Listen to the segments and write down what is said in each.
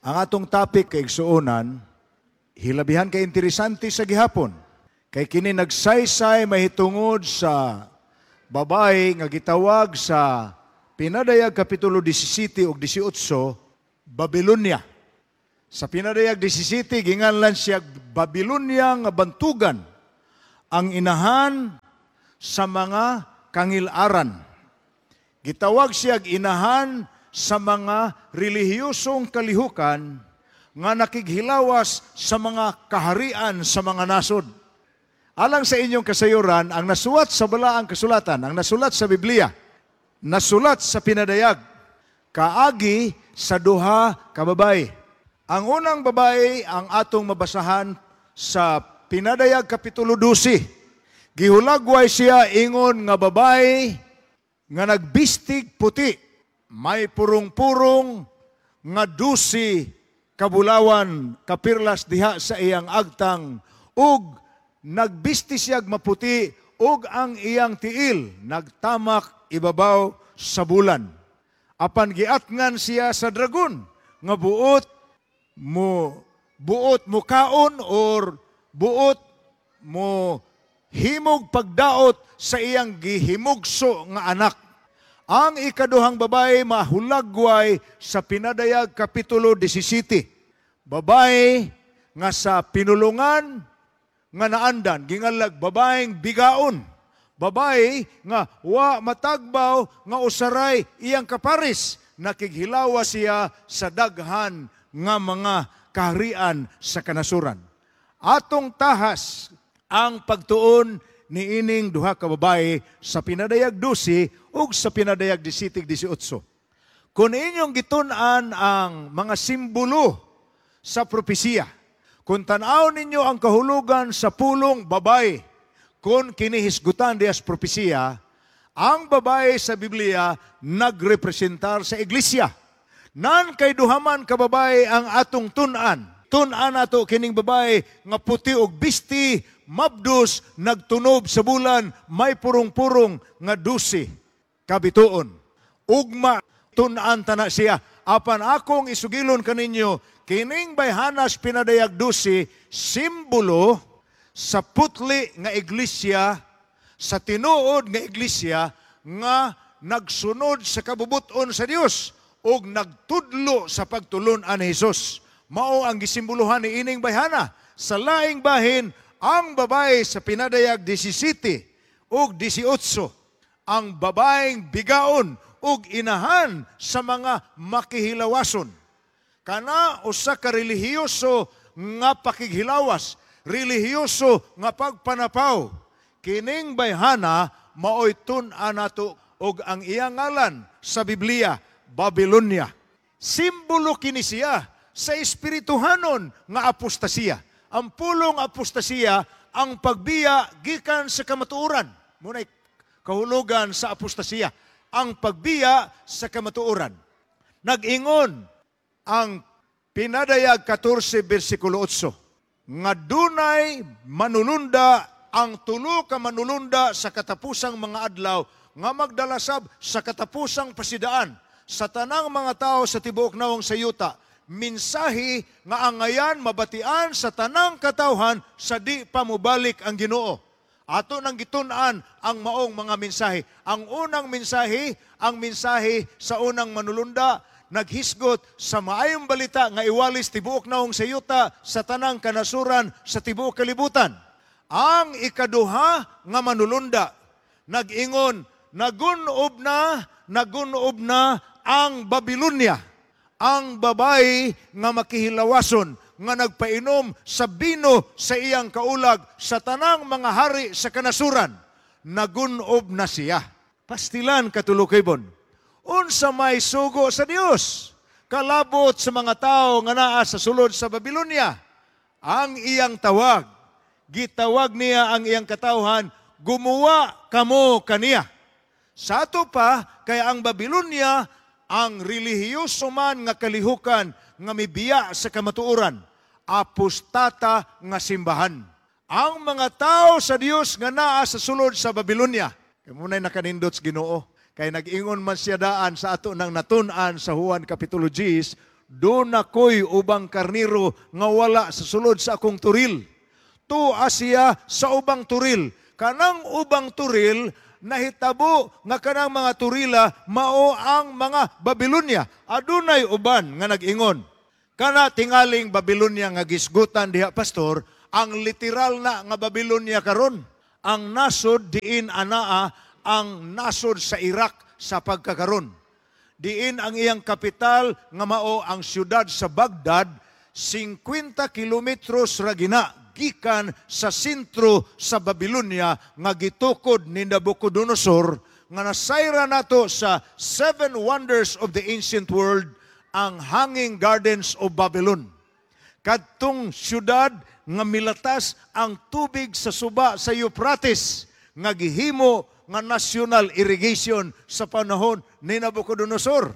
Ang atong topic, kaigsuonan, hilabihan kay interesante sa gihapon. Kay kini nagsaysay mahitungod sa babae nga gitawag sa Pinadayag Kapitulo 17 ug 18, Babylonia. Sa Pinadayag 17, ginganlan siya Babylonia nga bantugan, ang inahan sa mga kangilaran. Gitawag siya inahan sa mga relihiyosong kalihukan nga nakighilawas sa mga kaharian sa mga nasod. Alang sa inyong kasayuran, ang nasuwat sa Balaang Kasulatan, ang nasulat sa Biblia, nasulat sa Pinadayag, kaagi sa duha ka babae. Ang unang babae ang atong mabasahan sa Pinadayag Kapitulo 12. Gihulagway siya ingon nga babae nga nagbistig puti, may purong-purong nga 12 kabulawan kapirlas diha sa iyang agtang, ug nagbisti siyag maputi ug ang iyang tiil nagtamak ibabaw sa bulan. Apan giatngan siya sa dragon nga buot mukaon or buot mo himog pagdaot sa iyang gihimugso nga anak. Ang ikaduhang babae mahulagway sa Pinadayag Kapitulo 17. Babae nga sa pinulungan nga naandan, gingalag babaeng bigaon. Babae nga wa matagbaw nga usaray iyang kaparis, nakighilawa siya sa daghan nga mga kaharian sa kanasuran. Atong tahas ang pagtuon niining duha ka babae sa Pinadayag 12 ug sa Pinadayag 17 18. Kung inyong gitun-an ang mga simbolo sa propesiya, kung tan-aw ninyo ang kahulugan sa pulong babae, kung kinihisgutan diya sa propesiya, ang babae sa Biblia nagrepresentar sa iglesia. Nan kay duhaman ka babae ang atong tun-an. Tun-an ato kining babae nga puti og bisti, mabdos, nagtunob sa bulan, may purong-purong nga 12 kabituon. Ugma tun-an tana siya. Apan akong isugilon kaninyo, kining bayhanas Pinadayag 12, simbolo sa putli nga iglesia, sa tinuod nga iglesia nga nagsunod sa kabubuton sa Dios ug nagtudlo sa pagtulun-an ni Hesus. Mao ang gisimboluhan ni ining bayhana. Sa laing bahin, ang babae sa Pinadayag 17 ug 18, ang babaeng bigaon ug inahan sa mga makihilawason. Kana usa ka relihiyoso nga pakighilawas, relihiyoso nga pagpanapaw. Kining bayhana maoy tun-an nato og ang iyang ngalan sa Biblia, Babylonia. Simbolo kini siya sa espirituhanon nga apostasiya. Ang pulong apostasiya, ang pagbiya gikan sa kamatuoran. Muna'y kahulugan sa apostasiya, ang pagbiya sa kamatuoran. Nag-ingon ang Pinadayag 14 versikulo 8 nga dunay manulunda, ang tulo ka manulunda sa katapusang mga adlaw nga magdalasab sa katapusang pasidaan sa tanang mga tao sa tibuok nawong sa yuta, mensahe nga angayan mabatian sa tanang katawhan sa di pa mobalik ang Ginoo. Ato nang gitun-an ang maong mga mensahe. Ang unang mensahe, ang mensahe sa unang manulunda, naghisgot sa maayong balita nga iwalis tibuok nawong sa yuta sa tanang kanasuran sa tibuok kalibutan. Ang ikaduha nga manulunda, nag-ingon, nagunob na, nagunob na ang Babylonia, ang babae nga makihilawason, nga nagpainom sa bino sa iyang kaulag sa tanang mga hari sa kanasuran. Nagunob na siya. Pastilan, katulukibon. Unsa may sugo sa Dios kalabot sa mga tao nga naa sa sulod sa Babylonia? Ang iyang tawag, gitawag niya ang iyang katawhan, "Gumawa kamo kaniya." Sa ato pa, kay ang Babylonia ang relihiyoso man nga kalihukan nga mibiya sa kamatuoran, apostata nga simbahan. Ang mga tao sa Dios nga naa sa sulod sa Babylonia, kay muna'y nakanindot sa Ginoo. Kay nag-ingon man siya daan sa ato nang natun-an sa Juan Kapitulo 10, Duna ko'y ubang karniro nga wala sa sulod sa akong turil. Tua siya sa ubang turil. Kanang ubang turil, nahitabo nga kanang mga turila mao ang mga Babylonia. Adunay uban nga nag-ingon, kana tingaling Babylonia nga gisgutan diha, pastor, ang literal na nga Babylonia karon. Ang nasod diin anaa ang nasod sa Iraq sa pagkakaron. Diin ang iyang kapital nga mao ang siyudad sa Baghdad, 50 kilometros ra gina gikan sa sentro sa Babylonia nga gitukod ni Nabucodonosor, nga nasayra nato sa Seven Wonders of the Ancient World, ang Hanging Gardens of Babylon. Kadtong syudad nga milatas ang tubig sa suba sa Euphrates nga gihimo nga national irrigation sa panahon ni Nabucodonosor.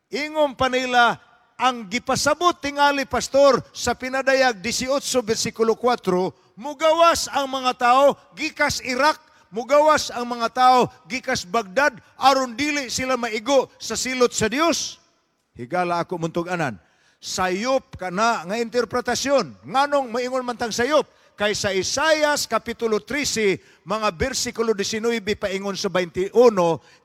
Ingon pa nila, ang gipasabot tingali, pastor, sa Pinadayag 18 versikulo 4, mugawas ang mga tao gikas Iraq, mugawas ang mga tao gikas Baghdad aron dili sila maigo sa silot sa Dios. Higala ako muntug-anan. Sayop kana nga interpretasyon. Nganong maingon man tang sayop? Kay sa Isayas Kapitulo 13, mga bersikulo 19 paingon sa 21,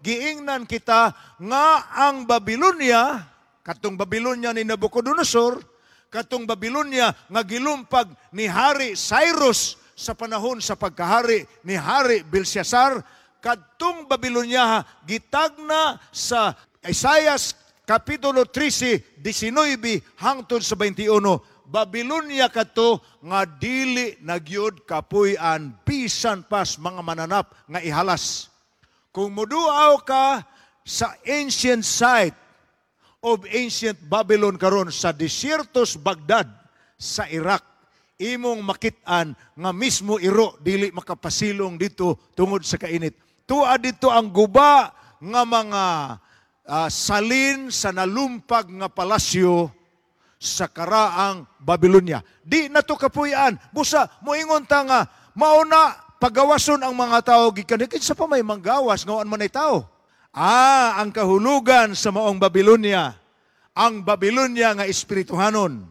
giingnan kita nga ang Babylonia, katong Babylonia ni Nabucodonosor, katong Babylonia nga gilumpag ni Hari Cyrus sa panahon sa pagkahari ni Hari Belshazzar, kadtong Babylonia gitagna sa Isayas Kapitulo 13, 19 hangtod sa 21, Babylonia kadto nga dili nagyud kapuy-an bisan pas mga mananap nga ihalas. Kung muduaw ka sa ancient site of ancient Babylon karon sa desiertos Baghdad sa Iraq, imong makit-an nga mismo iro dili makapasilong dito tungod sa kainit. Tua dito ang guba nga mga salin sa nalumpag nga palasyo sa karaang Babylonia. Di na to kapuy-an. Busa, moingon ta nga, mauna, pagawason ang mga tao, gikan, kinsa pa may manggawas, ngawaan man ay tao. Ang kahulugan sa maong Babylonia, ang Babylonia nga espirituhanon,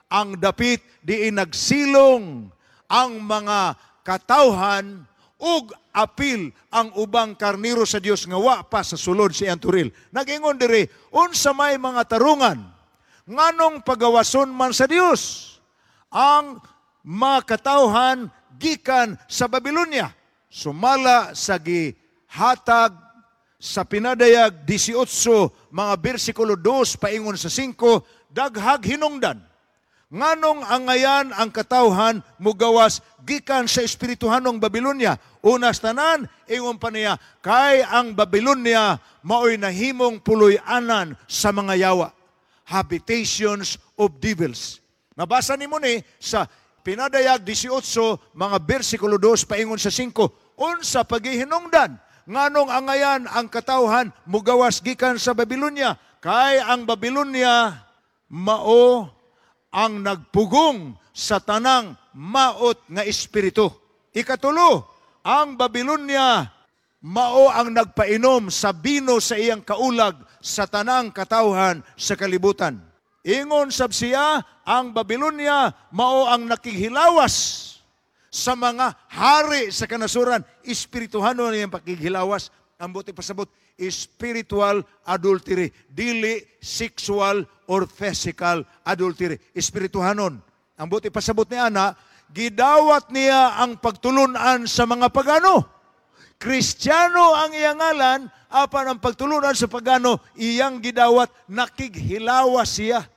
ang dapit diin nagsilong ang mga katawhan ug apil ang ubang karniro sa Dios nga wa pa sa sulod sa iyang turil. Nag-ingon diri, unsa may mga tarungan, nganong pagawason man sa Dios ang mga katawhan gikan sa Babylonia? Sumala sa gihatag sa Pinadayag 18 mga bersikulo 2 paingon sa 5, daghag hinungdan nganong angayan ang katawhan mugawas gikan sa espirituhanong Babylonia. Unas tanan, ingon pa niya, kay ang Babylonia maoy nahimong puloy-anan sa mga yawa, habitations of devils. Nabasa nimo ni sa Pinadayag 18 mga bersikulo 2 paingon sa 5, unsa pagihinungdan nganong angayan ang katawhan mugawas gikan sa Babylonia? Kay ang Babylonia mao ang nagpugong sa tanang maot nga espiritu. Ikatulo, ang Babylonia mao ang nagpainom sa bino sa iyang kaulag sa tanang katawhan sa kalibutan. Ingon sab siya, ang Babylonia mao ang nakighilawas sa mga hari sa kanasuran. Espirituhanon iyang pakighilawas. Ang buti pasabot, spiritual adultery, dili sexual or physical adultery. Espirituhanon. Ang buti pasabot ni ana, gidawat niya ang pagtulunan sa mga pagano. Kristiyano ang iyang ngalan, apan ang pagtulunan sa pagano, iyang gidawat, nakighilawas siya.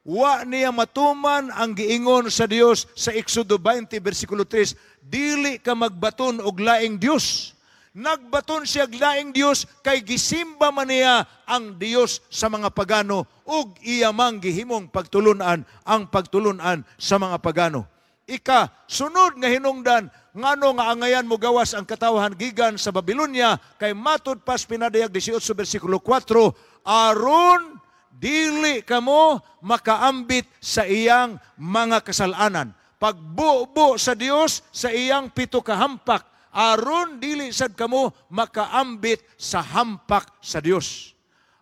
Wa niya matuman ang giingon sa Dios sa Exodo 20 versikulo 3, dili ka magbaton og laing Dios. Nagbaton siya og laing Dios kay gisimba man niya ang Dios sa mga pagano ug iya mang gihimong pagtulunan ang pagtulunan sa mga pagano. Ika, sunod nga hinungdan, ngano nga angayan mo gawas ang katawhan gikan sa Babylonia, kay matud pas Pinadayag 18 versikulo 4, aron dili kamo makaambit sa iyang mga kasalanan. Pagbubo sa Dios sa iyang pito kahampak, aron dili sad kamo makaambit sa hampak sa Dios.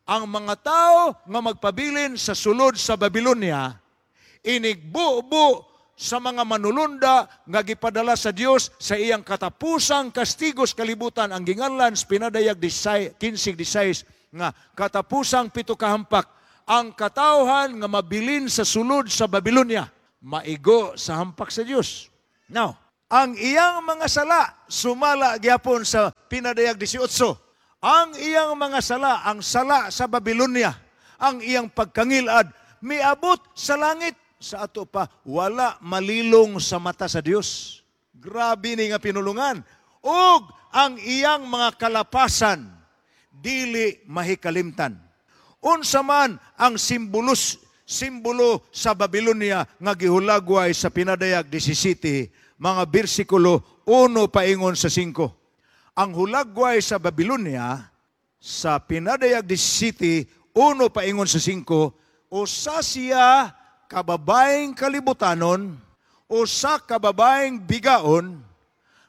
Ang mga tao nga magpabilin sa sulod sa Babylonia, inigbubo sa mga manulunda nga gipadala sa Dios sa iyang katapusang kastigo sa kalibutan, ang ginganlan sa Pinadayag 15:16 nga katapusang pito kahampak. Ang katawhan nga mabilin sa sulod sa Babylonia, maigo sa hampak sa Dios. Now, ang iyang mga sala sumala gyapon sa Pinadayag 18. Ang iyang mga sala, ang sala sa Babylonia, ang iyang pagkangilad miabot sa langit. Sa ato pa, wala malilong sa mata sa Dios. Grabe ni nga pinulungan. Ug ang iyang mga kalapasan dili mahikalimtan. Unsa man ang simbolo sa Babylonia nga gihulagway sa Pinadayag 17, mga bersikulo 1 paingon sa 5? Ang hulagway sa Babylonia sa Pinadayag 17, 1 paingon sa 5, usa siya kababaeng kalibutanon, usa kababaeng bigaon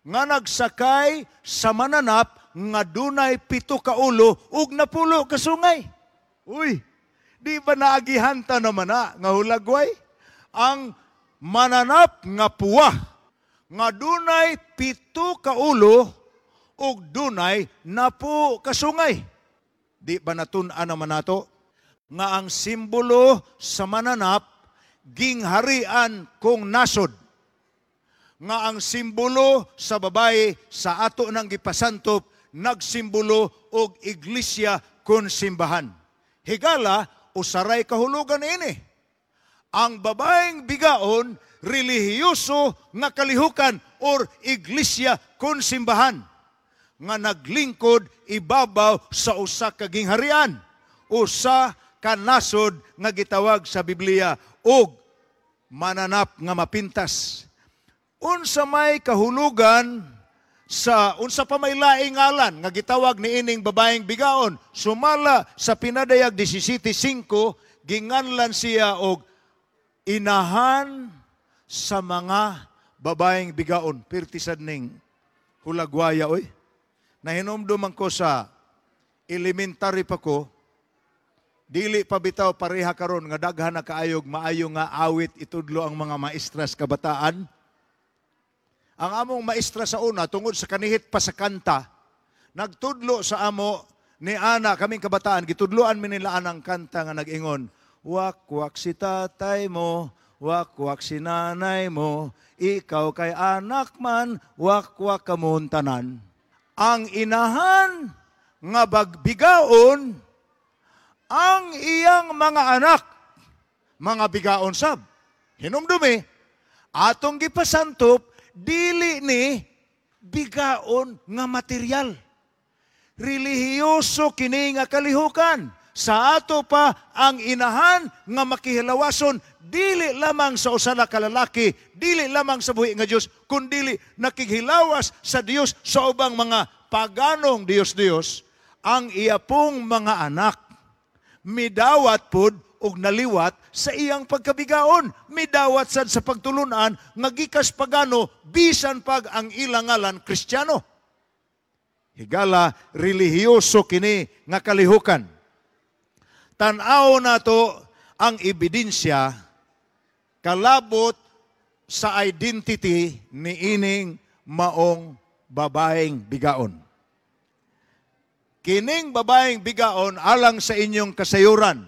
nga nagsakay sa mananap nga dunay 7 ka ulo ug 10 ka sungay. Uy, di ba naagihanta naman na nga hulagway? Ang mananap nga puwa nga dunay 7 ka ulo ug dunay 10 ka sungay. Di ba natun-an naman nato nga ang simbolo sa mananap gingharian kung nasod, nga ang simbolo sa babae sa ato nang gipasantop nagsimbolo og iglesia kun simbahan? Higala, usaray kahulugan ini. Ang babaeng bigaon, relihiyoso nga kalihukan or iglesia kun simbahan nga naglingkod ibabaw sa usa ka gingharian, usa ka nasod nga gitawag sa Biblia og mananap nga mapintas. Unsa may kahulugan sa unsa pa may laing ngalan nga gitawag niining babaeng bigaon? Sumala sa Pinadayag 17:5, ginganlan siya og inahan sa mga babaeng bigaon. Pirti sad ning hulagwaya oy. Nahinumduman ko sa elementary pa ko, dili pa bitaw pareha karon nga daghan na kaayog maayo nga awit itudlo ang mga maestras kabataan. Ang among maestra sa una, tungod sa kanihit pa sa kanta, nagtudlo sa amo ni ana kaming kabataan, gitudloan mi nila anang kanta nga nag-ingon, "Wakwak si tatay mo, wakwak si nanay mo, ikaw kay anak man, wakwak kamon tanan." Ang inahan nga bagbigaon, ang iyang mga anak, mga bigaon sab. Hinumdumi, atong gipasantop, dili ni bigaon nga material. Relihiyoso kini nga kalihukan. Sa ato pa, ang inahan nga makihilawason, dili lamang sa usa ka lalaki, dili lamang sa buhi nga Dios, kundili nakighilawas sa Dios sa ubang mga paganong Dios-Dios, ang iya pong mga anak midawat pod og naliwat sa iyang pagkabigaon, midawat sad sa pagtulunan nga gikas pagano bisan pag ang ilang ngalan Kristiyano. Higala, relihiyoso kini nga kalihukan. Tan-aw nato ang ebidensya kalabot sa identity ni ining maong babaeng bigaon. Kining babaeng bigaon, alang sa inyong kasayuran,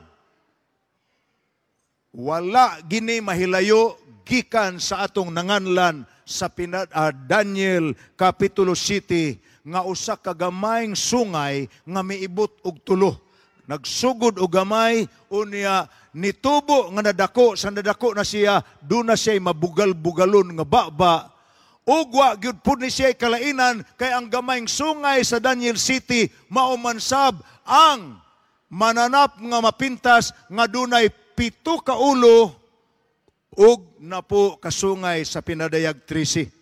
wala gini mahilayo gikan sa atong nanganlan sa Daniel Kapitulo City nga usa ka gamayng sungay nga miibot og tulo. Nagsugod og gamay, unya nitubo nga nadako, sa nadako na siya, doon na siya mabugal-bugalon nga baba. Ugwa gyud pud ni siya kalainan kay ang gamayng sungay sa Daniel City maumansab ang mananap nga mapintas nga dunay 7 ka ulo ug 10 ka sungay sa Pinadayag 13.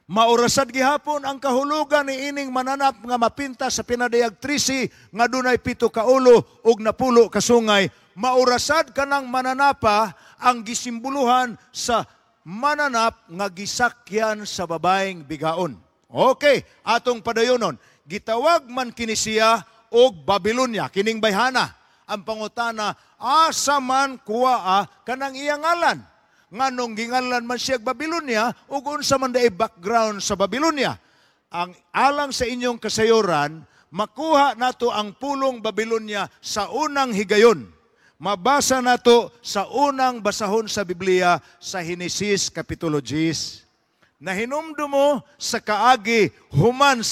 Maurasad gihapon ang kahulugan ni ining mananap nga mapintas sa Pinadayag 13 nga dunay 7 ka ulo ug 10 ka sungay. Maurasad kanang mananapa ang gisimboluhan sa mananap nga gisakyan sa babaeng bigaon. Okay, atong padayonon. Gitawag man kini siya ug Babylonia. Kining bayhana. Ang pangutana, asa man kuha kanang iyang ngalan? Nganong gingalan man siya Babylonia ug unsa man diay background sa Babylonia? Ang alang sa inyong kasayuran, makuha nato ang pulong Babylonia sa unang higayon. Mabasa nato sa unang basahon sa Biblia sa Henesis Kapitulo 10. Nahinumdum mo sa kaagi human